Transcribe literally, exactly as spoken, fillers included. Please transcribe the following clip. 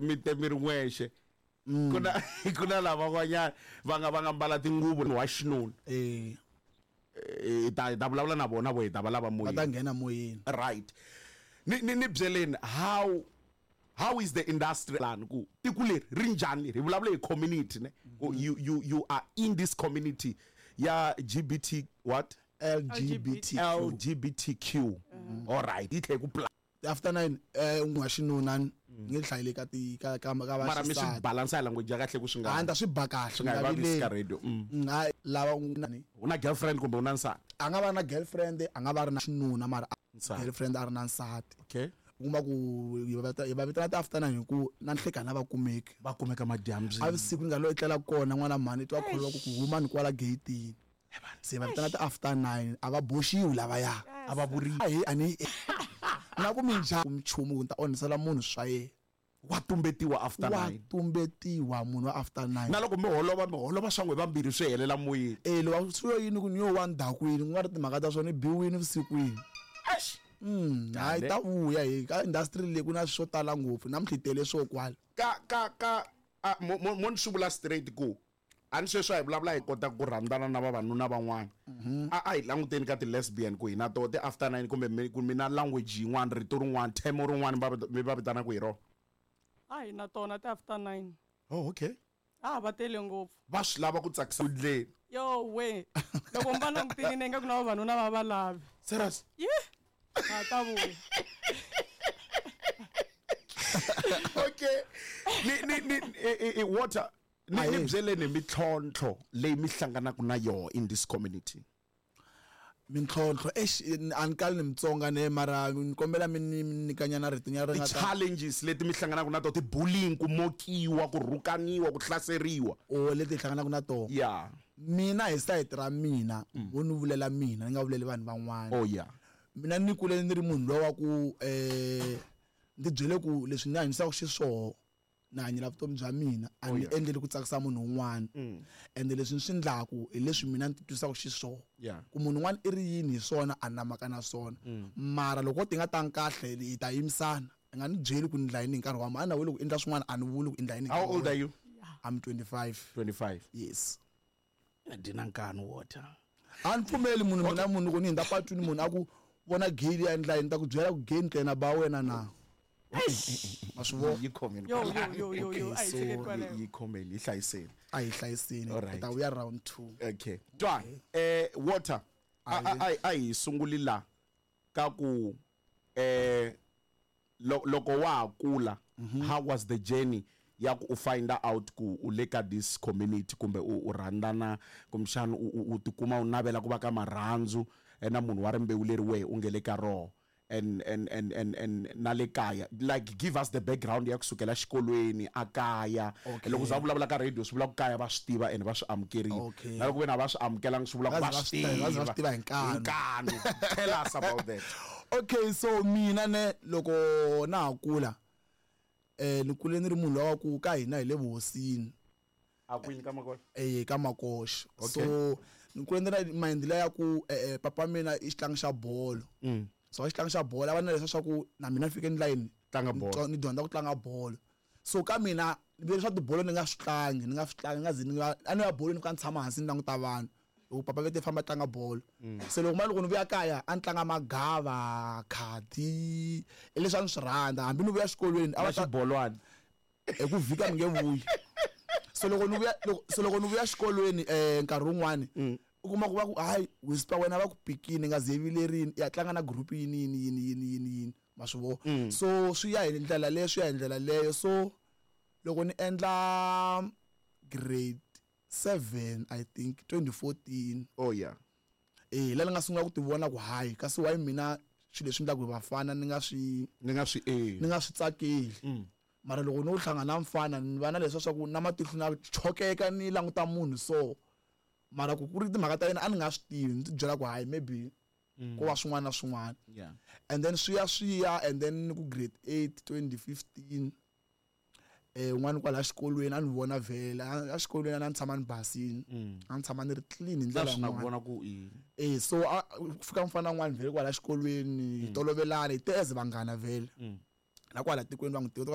mi te mi ri n'wexe ku na ku na lavan'wanyana va nga va nga mbala tinguvu wa xinuna. Eh. Hi ta hi ta vulavula na vona vo hi ta va lava Va ta moyeni. Nghena moyeni. Right, ni ni ni byeleni how how is the industry lani ku tiko leri ri njhani leri hi vulavula hi community ne ku you you you are in this community ya G B T what? L G B T Q. L G B T Q, all right, yi tlhe ku pla After nine eh un'we wa xinuna ni nge hlayile ka ti ka ka ka Mara mi swi vaxisati. Balansa hi language ya kahle ku swi A nga ni ta swi ba kahle. Swi nga hi vavisi ka radio mm. Mm, hayi lava u ni U na girlfriend kumbe u na nsati? A nga va na girlfriend, a nga va ri na xinuna, mara a- Nsati. Girlfriend a ri na nsati. Okay. U kuma ku hi va vita- hi va vitana ti-after nine hi ku na nhlekani a va kumeki. Va kumeka madyambyini. A vusiku ni nga lo etlela kona n'wana mhani twa kholwa ku ku huma ni kwala gate-ini, se va vitana ti-after nine. A va boxiwi lavaya. A va vuriwi. Ahi a ni na ku minjhani nchumu ku ni ta onhisela munhu swa yena. Wa tumbetiwa after Wa nine. Tumbetiwa munhu wa after nine. Na loko mi holova mi holova swa n'we vambirhi swi helela moyeni? E loko swi yo yini ku ni yo wa ndhakwini ku nga ri timhaka ta swona ni biwini vusikwini. Mm, hayi ta vuya hi ka industry leyi ku na swo tala ngopfu namuntlha hi tele swo kwala. Ka ka ka a, mo mo mo ni swi vula straight ku a ni sweswi a hi vulavula hi kota ku rhandzana na vavanuna van'wana, a a hi languteni ka ti-lesbian ku hi na toho ti-after nine kumbe mi ku mi na language yin'wana, rito rin'wana, term rin'wana va vita- mi va vitanaka hi rona? A hi na tona ti-after nine. Oh, okay. A va tele ngopfu. Va swi lava ku tsakisa ndleni. Yo we, loko mi va langutile ni ingaku na vavanuna va va lavi. Serious? Ye, a ta vuya. Okay, ni ni ni i- i- i- water ni ni Ahee. Byeleni mintlhontlho leyi mi hlanganaka na yoho in this community. Mintlhontlho, exi, a ni kali ni Mutsonga ne, mara ni kombela mi ni mi nyikanyana rito nyana ri nga ta Ti-challenges leti mi hlanganaka na to, ti-bullying, ku mokiwa, ku rhukaniwa, ku hlaseriwa. O leti hi hlanganaka na tona? Ya. Mina hi sayiti ra mina, wo ni vulela mina, ni nga vuleli vanhu van'wana. Oh yeah. Mina ni kule ni ri munhu lowa wa ku eh ndzi byele ku leswi ni hanyisaka xiswoho ni hanyela vutomi bya mina, a ni yeah. endleli ku tsakisa munhu un'wana, ende leswi ni swi ndlaku hi leswi mina ni titwisaka xiswoho. Yeah. Ku munhu un'wana i ri yini hi swona, a ni na mhaka na swona, mara loko ti nga tangi kahle hi ta yimisana. I nga ni byeli ku ni ndla yini hi nkarhi wa ma a na weli ku endla swin'wana, a ni vuli ku endla yini hi How nkarhi old wa are you? I'm twenty-five. twenty-five? Yes. Dina nkani water. A ni pfumeli munhu mina munhu loko ni hundza patwini munhu a ku vona gate ya endla yini, ta ku byela ku gate ntlena ba wena na ma swi vona. Yi khomeni. Yo yo yo yo yo, Okay, a hi so- tshikeni kwaleyo. Yi khomeni, yi hlayiseni. A hi hlayiseni. Alright. Hi ta vuya round two. Okay, twa eh water, a a a- a hi sunguli la ka ku eh lo- loko wa ha kula, how was the journey ya ku u find out ku u le ka this community kumbe u u rhandzana kumbexana u u- u tikuma u navela ku va ka marhandzu eh, na munhu wa rimbewu leri wehe u nge le ka roho and and and and and na le kaya? Like, give us the background ya kusukela xikolweni, a kaya. Okay. Loko za vulavula ka radio swi vula ku kaya va swi tiva and va swi amukerile. Okay. Na loko vena va swi amukelanga swi vula ku Va va ze va swi swi tiva- va ze va tiva swi tiva hi nkanu. Hi nkanu. Tell us about that. Okay, so mina ne loko na ha kula eh ni kule ni ri munhu lowa ku ka hina hi le vuhosini. A kwini ka Makola? Eh, ka Makoxa. Okay. So ni kule ni ri na mind liya ya ku eh, eh, papa mina i xitlangi xa bolo. Mm. So xitlangi xa bolo a va na leswa swa ku na mina ni fike ni layini Tlanga bolo. ni dyondza ku tlanga bolo. So ka mina ni vele swa tibolo ni nga swi tlangi, ni nga swi tlangi, ni nga zi ni nga a ni ya bolweni, ni fika ni tshama hansi ni languta vanhu loko papa ve te famba tlanga bolo. Se loko ma loko ni vuya kaya a ni tlanga magava, khadi, i leswi a ni swi rhandza. Hambi ni vuya xikolweni a Na va ta xibolwani? Hi ku vhika ni nge vuyi. So loko ni vuya loko so loko ni vuya xikolweni eh nkarhi wun'wani u kuma ku va ku hayi whisper wena va ku pikini nga ze vilerini ya tlanga na group yini yini yini yini yini yini, ma swi vona. So swi ya hi ndlela leyo, swi ya hi ndlela leyo. So loko ni endla grade seven, I think twenty fourteen, Oh yeah. eh la ni nga sungula ku ti vona ku hayi kasi why mina swilo leswi endlaka hi vafana ni nga swi Ni nga swi ni endli. Nga swi tsakeli, mara loko no hlangana na mfana ni va na leswa swa ku na matihlo na chokeka ni languta munhu. So mara ku ku ri timhaka ta yena a ni nga swi tivi, ni ti byela ku hayi maybe ko va swin'wana na swin'wana. Yeah And then swi ya swi ya and then ni ku grade eight twenty fifteen, eh un'wana kwala xikolweni a ni vona vhele a xikolweni a ni tshama ni basini, a ni tshama ni ri clean hi Na ndlela swi na ku yin'wana. Vona ku i Eh, so a ku fika mfana un'wana vhele kwala xikolweni, hi tolovelana hi te as vanghana vhele na kwala tikweni va n'wi tiva.